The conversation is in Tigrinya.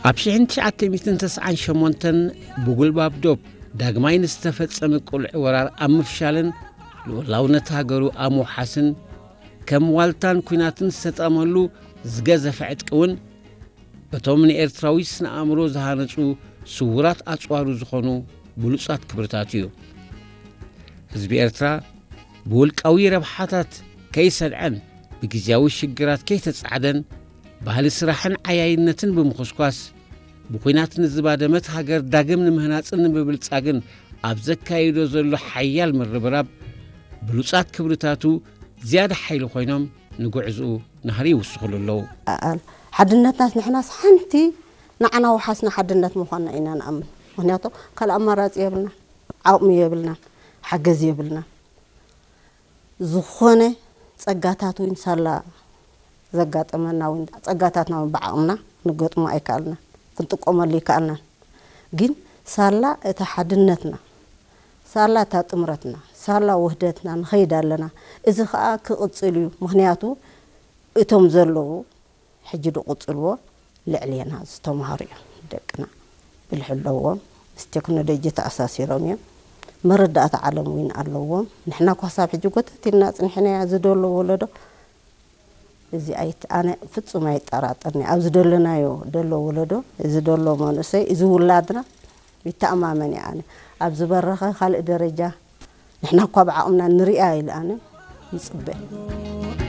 ኣብ ሽሕን ትሽዓተ ሚእትን ተስዓን ሸሞንተን ብጉልባብ ዶብ ዳግማይ ንዝተፈጸመ ቅሉዕ ወራር ኣብ ምፍሻልን ልኡላውነት ሃገሩ ኣብ ምውሓስን ከም ዋልታን ኲናትን ዝተጠቐመሉ ዝገዘፈ ዕጥቂ እውን እቶም ንኤርትራዊ ስነ ኣእምሮ ዝሃነጹ ስዉራት ኣጽዋሩ ዝኾኑ ብሉጻት ክብርታቱ እዩ። ህዝቢ ኤርትራ ብውልቃዊ ረብሓታት ከይሰድዐን ብግዜያዊ ሽግራት ከይተጻዕደን ባህሊ ስራሕን ዓያይነትን ብምኹስኳስ ብኲናት ንዝባደመት ሃገር ዳግም ንምህናጽን ንምብልጻግን ኣብ ዘካይዶ ዘሎ ሓያል ምርብራብ ብሉጻት ክብርታቱ ዝያዳ ሓይሊ ኮይኖም ንጉዕዝኡ ናህሪ ይውስኹሉ ኣለዉ። ኣል ሓድነትናስ ንሕናስ ሓንቲ ንዓና ወሓስና ሓድነት ምዃንና ኢና ንኣምን። ምኽንያቱ ካልእ ኣማራጺ የብልና፣ ዓቕሚ የብልና፣ ሓገዝ የብልና። ዝኾነ ጸጋታት እውን ሳላ ዘጋጠመና እውን ጸጋታትና እውን ብዓቕምና ክንገጥሞ ኣይከኣልና፣ ክንጥቀመሉ ይከኣልና። ግን ሳላ እታ ሓድነትና፣ ሳላ እታ ጥምረትና፣ ሳላ ውህደትና ንኸይድ ኣለና። እዚ ኸኣ ክቕጽል እዩ። ምኽንያቱ እቶም ዘለዉ ሕጂ ድቕጽልዎ ልዕሌና ዝተምሃሩ እዮም። ደቅና ብልሒ ኣለዎም፣ ምስ ቴክኖሎጂ ተኣሳሲሮም እዮም። መረዳእታ ዓለም እውን ኣለዎም። ንሕና እኳ ሳብ ሕጂ ጎተት ኢልና ጽኒሕናያ ዝደሎ ወለዶ እዚ ኣይት-፣ ኣነ ፍጹም ኣይጠራጠርኒ። ኣብ ዝደለናዮ ደሎ ወለዶ፣ እዚ ደሎ መንእሰይ፣ እዚ ውላድና ይተኣማመን እየ ኣነ። ኣብ ዝበረኸ ካልእ ደረጃ ንሕና እኳ ብዓቕምና ንሪኣ ኢለ ኣነ ይጽበ።